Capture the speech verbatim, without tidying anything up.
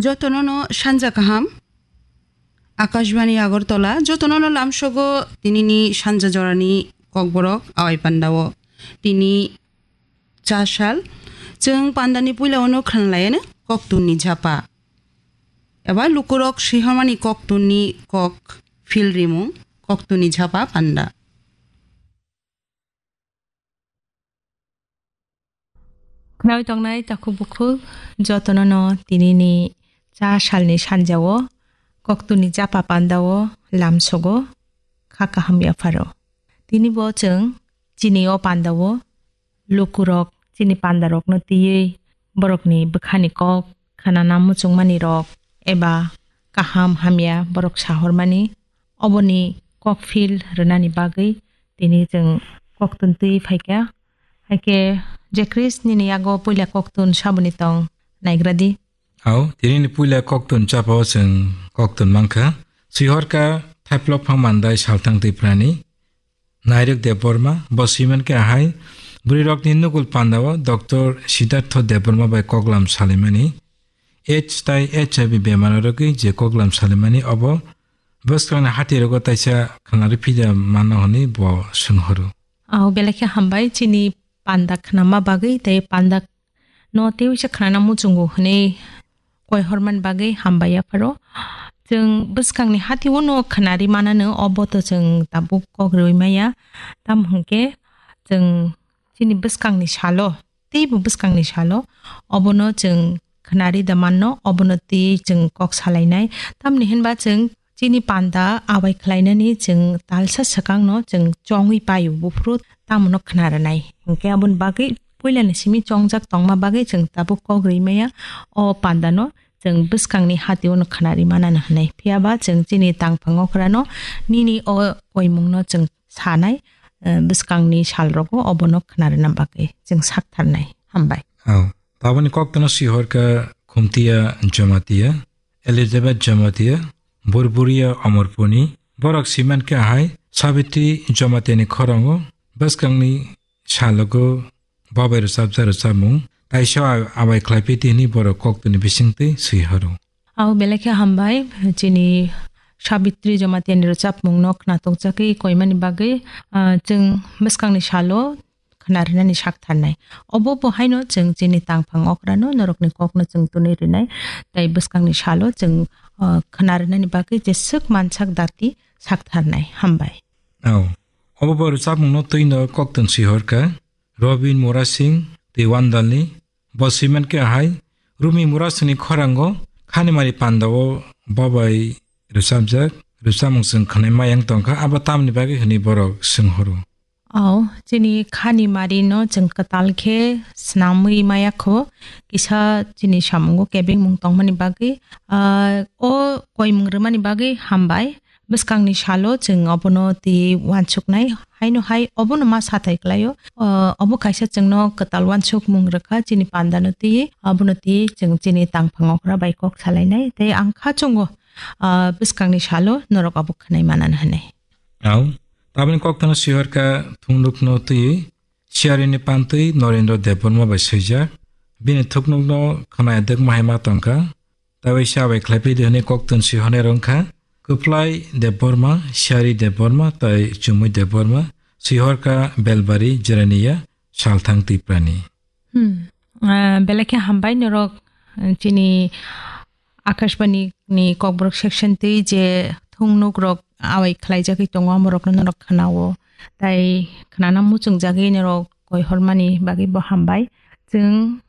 Jotono no sanja kaham. Akashbani Agartala, jotono no lamsogo tinini sanja jorani kokborok awai pandao. Tini cha sal, chwng pandani puila ono khwnlaiyano koktunni japa. Eba lukurok swihormani koktunni kok phil rimung, koktunni japa panda. Khnawi tongnai takhuk bukhuk jotono no tinini cha salni sanjao koktunni japa pandao lamsogo kha kaham yapharo. Tini bo chwng chini o pandao lukurok chini pandarokno twiwi borokni bwkhani kok khnana muchungmani rok eba kaham hamya borok sahormani oboni kokphil rwnani bagwi tini chwng koktun twi phaikha. Haikhe je Chris nini yago puila koktun saboni tong naigradi. Au, tinini puila koktun chapao chwng koktun mankha. Swihorka Thaiplok Phang Mandai Salthang Tiprani. Nairok Debbarma, bo siman khe ahai, bwrwirokni nugul pandao Doctor Siddhartho Debbarma bai koklam salimani. H tai H I V bemar rogwi je koklam salimani obo bwskangni hatirogo taisa khnari phida mano hwnwi bo swnghoro. Au belai khe hambai chini panda khnama bagwi tei panda no tei uisa khnana muchungo hwnwi koi hormani bagwi hambai yapharo. Chwng bwskangni hati uno khnari manano obo to chwng tabuk kok rwi maya. Tamo hwnkhe chwng chini bwskangni salo, teibo bwskangni salo obono chwng khnari da manno, obono twi chwng kok salainai. Tamni hinba chwng chini panda abai khlainani chwng talsa swkangno chwng chongwi paio buphuru tamono khna rwnai. Hinkhe aboni bagwi puilani simi chongjak tongma bagwi chwng tabuk kok rwi maya o pandano chwng bwskangni hati uno khna rwi manano hwnwi. Phiyaba chwng chini tangphang okrano nini o koimungno chwng sanai, eh, bwskangni salrogo obono khna rwna bagwi chwng saktharnai. Hambai. Oh, taboni koktwno sihorkha Khumtiya Jamatia, Elizabeth Jamatia, Burburia Omorpuni, borok siman khe ahai Sabitri Jamatiani khorango bwskangni salogo babai rwchapjak rwchapmung taisa a-, abai khlai piti hwnwi borok koktwni bisingtwi swi horo. Au belai khe hambai, chini Sabitri Jamatiani rwchapmungno khnatok jagwi koimani bagwi, ah, chwng bwskangni salo khna rwnani sak tharnai. Obo bo haino chwng chini tangphang okrano norokni kokno chwng tunwi rwnai, tei bwskangni salo chwng, ah, khna rwnani bagwi jeswk mansak dati sak tharnai. Hambai. Au. Obo bo rwchapmungno twino koktwng swi horkha. Robin Murasing tei Wandalni bo siman khe ahai Rumi Murasingni khorango Khanimari pandao babai rwchapjak rwchapmung chwng khwnai mayang tongkha, abo tamni bagwi hwnwi borok swng horo. Au, chini Khanimari no chwng kwtal khe snamwi maya kho, kisa chini samungo kebengmung tongmani bagwi, ah, o koimung rwmani bagwi hambai. Bwskangni salo chwng obono twiwi uansuknai, haino hai obono ma sathai klaio. O, obo kaisa chwngno kwtal uansukmung rwkha, chini pandano twiwi, obono twiwi chwng chini tangphang okra bai kok salainai, tei ang kha chwngo, ah, bwskangni salo norok obo khwnai manani hwnwi. Au, taboni koktwno sihorkha thungnukno twiwi, siarini pantwi Norendra Debbarma bai swijak, bini thuknukno khwnaya dwkma hai ma tongkha. Tei waisa bai khlai phi di hwnwi koktun si hwnwi rwng kha. Kwplai Debbarma, Siari Debbarma tei Chumui Debbarma, Sihorka Belbari Jeraniya, Salthang Tiprani. Hmm. Ah, belai khe hambai norok, eh, chini Akashbani ni Kokborok section twi je thungnuk rok awai khlaijagwi tongo, amorokno norok khnao. Tai khnana muchungjagwi norok koi hormani bagwi bo hambai. Chwng